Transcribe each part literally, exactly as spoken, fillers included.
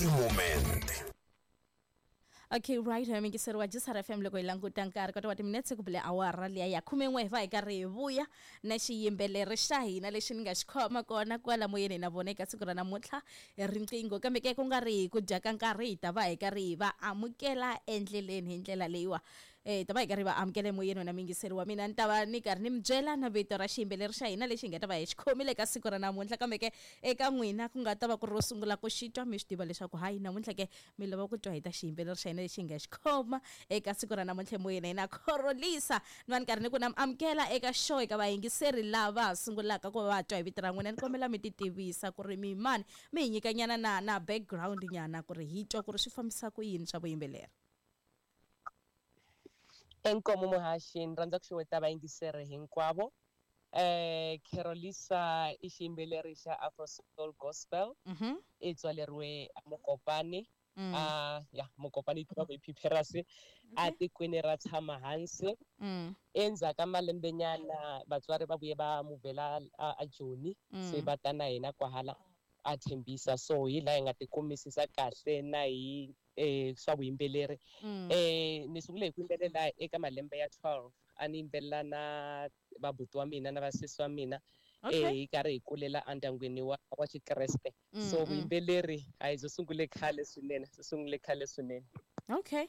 Every moment. Okay, right, miyingiseri wa J S R F M, loko hi languta nkarhi kota wa timinetse ku bile awara liya ya khumen'we, hi va hi karhi hi vuya na xiyimbeleri xa hina lexi ni nga xi khoma kona kwala moyeni na vona eka siku ra namuntlha hi riqingho. Kambe ke ku nga ri hi ku dya ka nkarhi, hi ta va hi karhi hi va amukela endleleni hi ndlela leyiwa. eh hi ta va hi karhi hi va amukela emoyeni. Wena miyingiseri wa mina, ni ta va ni karhi ni mi byela na vito ra xiyimbeleri xa hina lexi hi nga ta va hi xi khomile eka siku ra namuntlha. Kambe ke eka n'wina ku nga ta va ku ri ro sungula ku xi twa, mi swi tiva leswaku hayi, namuntlha ke mi lava ku twa hi ta xiyimbeleri xa hina lexi hi nga xi khoma eka siku ra namuntlha emoyeni hina, Carolisa. Ni va ni karhi ni ku na mi amukela eka show. Eka vayingiseri lava ha sungulaka ku va va twa hi vito ra n'wina, ni kombela mi ti tivisa ku ri mi mani, mi hi nyika nyana na na background nyana ku ri hi twa ku ri swi fambisa ku yini swa vuyimbeleri. Inkomu muhaxi, ni rhandza ku xeweta vayingiseri hinkwavo. eh Carolisa i xiyimbeleri xa Afro Soul Gospel. Mhm. I tswaleriwe a Mokopane. Mm. A ya Mokopane yi tiva ku i Phipherasi a tikweni ra tshama hansi. Mm. Endzhaku ka malembenyana vatswari va vuye va muvhela a, a Joni. Mm. Se va ta na hina kwahala a Tembisa, so hi laha hi nga tikumisisa kahle na hi eh swa vuyimbeleri. Mm. eh ni sungule hi ku yimbelela eka malembe ya twelve, a ni yimbelela na vabuti wa mina na vasesi wa mina. Okay. eh hi karhi hi kulela endyangwini wa wa Xikreste. Mm, So mm. vuyimbeleri a hi byo sungule khale swinene, byi sungule khale swinene. Okay,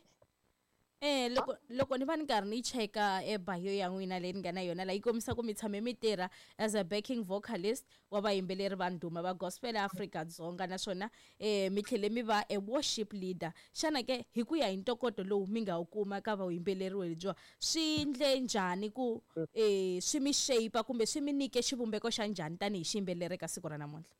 eh loko loko ni va ni karhi ni cheka e bio ya n'wina leyi ni nga na yona la, yi kombisa ku mi tshame mi tirha as a backing vocalist wa vayimbeleri va ndhuma va gospel Afrika-Dzonga, naswona eh mi tlhele mi va a worship leader. Xana ke hi ku ya hi ntokoto lowu mi nga wu kuma ka vuyimbeleri lebyiwa, swi ndle njhani ku eh swi mi shape kumbe swi mi nyike xivumbeko xa njhani tanihi xiyimbeleri eka siku ra namuntlha?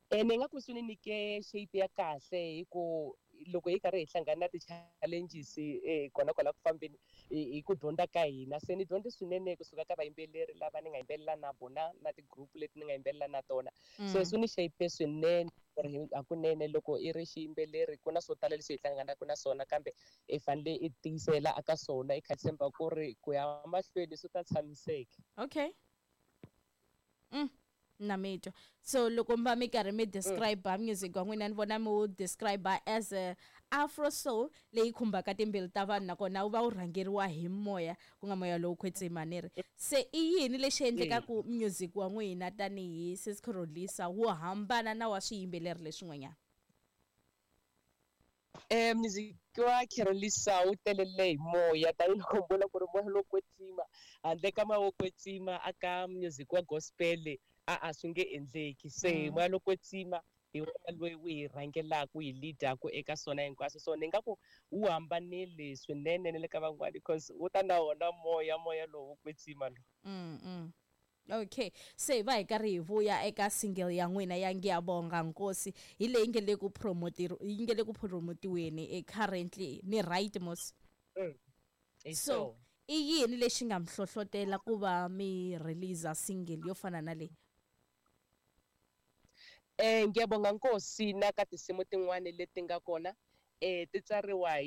Eh ni nga ku swi ni nyike shape ya kahle, hi ku loko hi karhi hi hlangana na ti-challenges eh kona kwala ku fambeni hi hi ku dyondza ka hina, se ni dyondze swinene kusuka ka vayimbeleri lava ni nga yimbelela na vona na ti-group leti ni nga yimbelela na tona. So swi ni shape swinene ku ri hakunene loko i ri xiyimbeleri ku na swo tala leswi hi hlanganaka na swona, kambe i fanele i tiyisela aka swona, i kha tshemba ku ri ku ya mahlweni swi ta tshamiseka. Okay, mm. na mi twa. So loko mi va mi karhi mi describe music wa n'wina, ni vona mi wu describe as a Afro soul leyi khumbaka timbilu ta vanhu, nakona wu va wu rhangeriwa hi moya, ku nga moya lowu kwetsima. Ni ri se i yini lexi endlekaku music wa n'wina tanihi Sis Carolisa wu hambana na wa swiyimbeleri leswin'wanyana? Eh music wa Carolisa wu telele hi moya, tanihiloko mi vona ku ri moya lowo kwetsima. Handle ka moya wo kwetsima aka music wa gospel a a swi nge endleki. Se Mm. moya lowo kwetsima hi wona loyi wu hi rhangelaka, wu hi lead-aku eka swona hinkwaswo. So ni nga ku wu hambanile swinene na le ka van'wani because wu ta na wona moya moya lowo kwetsima lowu. mm, mm. okay, se hi va hi karhi hi vuya eka single ya n'wina ya Ngiyabonga Nkosi, hi leyi nge le ku promotiri yi nge le ku promotiweni eh, currently, ni right mos? Hi. So i yini lexi nga mi hlohlotela ku va mi release single yo fana na leyi? Eh ngiyabonga Nkosi na ka tinsimu tin'wani leti nga kona eh ti tsariwa hi